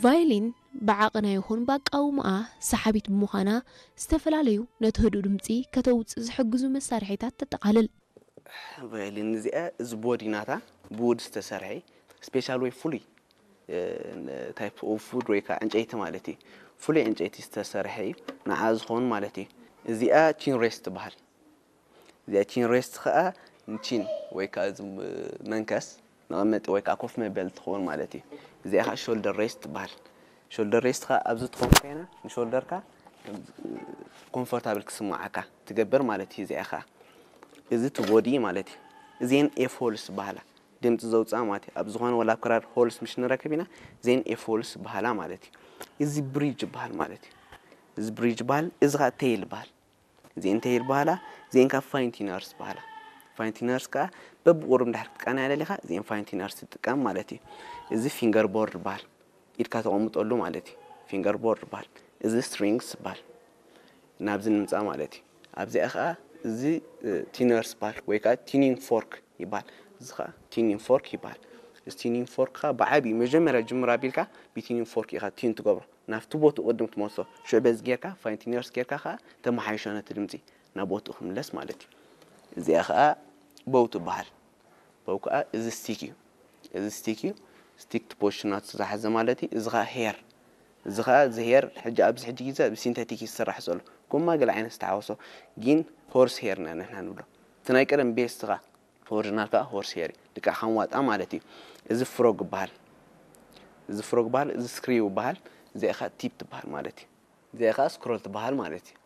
ቫዮሊን ብዓቐና ይኹን ብኣቃውማኣ ሰሓቢት ብምዃና፣ ዝተፈላለዩ ነቲ ህዱእ ድምጺ ከተውጽእ ዝሕግዙ መሳርሒታት ተጠቓልል። ቫዮሊን እዚኣ፣ እዚ ቦዲ ናታ ብውድ ዝተሰርሐ፣ ስፔሻል ወይ ፍሉይ ታይፕ ኦፍ ውድ ወይ ከዓ ዕንጨይቲ ማለት እዩ። ፍሉይ ዕንጨይቲ ዝተሰርሐ እዩ፣ ንዓ ዝኾኑ ማለት እዩ። እዚኣ ቺን ሬስት ትበሃል። እዚኣ ቺን ሬስት ከዓ ንቺን ወይ ከዓ እዚ መንከስ መቐመጢ ወይ ከዓ ኮፍ መበሊ ትኸውን ማለት እዩ። እዚኣ ከዓ ሾልደር ሬስት ትበሃል። ሾልደር ሬስት ከዓ ኣብዚ ትኸውን ኮይና ንሾልደርካ ኮምፎርታብል ክስማዓካ ትገብር ማለት እዩ። እዚኣ ከዓ እዚ እቲ ቦዲ ማለት እዩ። እዚኤን ኤፍ ሆልስ ይበሃላ፣ ድምፂ ዘውፅኣ ማለት እዩ። ኣብ ዝኾነ ወላ ኣብ ክራር ሆልስ ምሽ ንረክብ ኢና፣ እዚኤን ኤፍ ሆልስ ይበሃላ ማለት እዩ። እዚ ብሪጅ ይበሃል ማለት እዩ። እዚ ብሪጅ ይበሃል። እዚ ከዓ ቴይል ይበሃል። እዚኤን ቴይል ይበሃላ። እዚኤን ካብ ፋይን ቲነርስ ይበሃላ። ፋይን ቲነርስ ከዓ በብቁሩብ እንድሕር ክትቃናያ ደሊኻ እዚኤን ፋይን ቲነርስ ትጥቀም ማለት እዩ። እዚ ፊንገር ቦርድ ይበሃል። ኢድካ ተቐምጠሉ ማለት እዩ። ፊንገር ቦርድ ይበሃል። እዚ ስትሪንግስ ይበሃል። ናብዚ ንምፃእ ማለት እዩ። ኣብዚኣ ከዓ እዚ ቲነርስ ይበሃል ወይ ከዓ ቲኒንግ ፎርክ ይበሃል። እዚ ከዓ ቲኒንግ ፎርክ ይበሃል። እዚ ቲኒንግ ፎርክ ከዓ ብዓብዩ መጀመርያ ጅምር ኣቢልካ ብቲኒንግ ፎርክ ኢኻ ቲን ትገብሮ። ናብቲ ቦትኡ ቅድም ትመልሶ። ሽዑ በዚ ጌርካ ፋይን ቲነርስ ጌርካ ከዓ ተመሓይሾ ነቲ ድምፂ ናብ ቦትኡ ክምለስ ማለት እዩ። እዚኣ ከዓ ቦው ትበሃል። ቦው ከዓ እዚ ስቲክ እዩ። እዚ ስቲክ እዩ። ስቲክ ፖዚሽናቱ ዝሓዘ ማለት እዩ። እዚ ከዓ ሄር፣ እዚ ከዓ እዚ ሄር ሕጂ ኣብዚ ሕጂ ግዜ ብሲንተቲክ እዩ ዝስራሕ ዘሎ። ጎማ ገለ ዓይነት ዝተሓወሶ ግን ሆርስ ሄር ኢና ንሕና ንብሎ። እቲ ናይ ቀደም ቤስት ከዓ ኦሪጂናል ከዓ ሆርስ ሄር እዩ። ልክዕ ከም ዋጣ ማለት እዩ። እዚ ፍሮግ ይበሃል። እዚ ፍሮግ ይበሃል። እዚ ስክሪው ይበሃል። እዚኣ ከዓ ቲፕ ትበሃል ማለት እዩ። እዚኣ ከዓ ስክሮል ትበሃል ማለት እዩ።